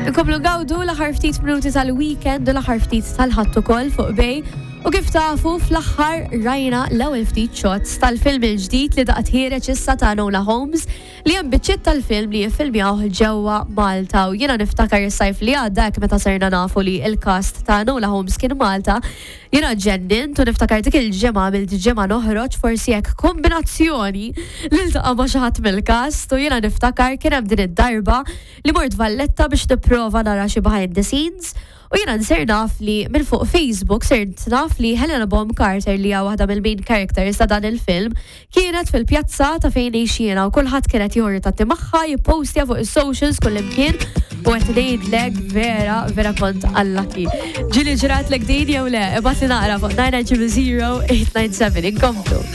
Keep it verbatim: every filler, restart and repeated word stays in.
Nkomplu ngawdu l-aħħar ftit minuti tal-weekend u l-aħħar ftit tal-Ħadd ukoll fuq Bay. U kif tafu, fl-aħħar rajna l-ewwel ftit shots tal-film il-ġdid li daqt ħiereġ issa ta' Enola Holmes, li hemm biċċiet tal-film li jiffilmjaw ġewwa Malta. U jiena niftakar is-sajf li għadda hekk, meta sirna nafu li il-cast ta' Enola Holmes kien Malta, jiena ġennint u niftakar dik il-ġimgħa għamilt ġimgħa noħroġ, forsi hekk kombinazzjoni li ltaqa' ma' xi ħadd mill-cast. U jiena niftakar kien hemm din id-darba li mort Valletta biex nipprova nara xi behind the scenes. U jiena nsir naf li minn fuq Facebook, sirt naf li Helena Bonham Carter, li hija waħda mill-main characters ta' dan il-film, kienet fil-pjazza ta' fejn jiena u kulħadd kienet jieħu ritratti magħha, jippostja fuq is-socials kullimkien, u qed ngħidlek vera vera kont lucky. Ġieli ġratlek din jew le? Ibgħatli naqra fuq nine nine zero eight nine seven. Inkomplu.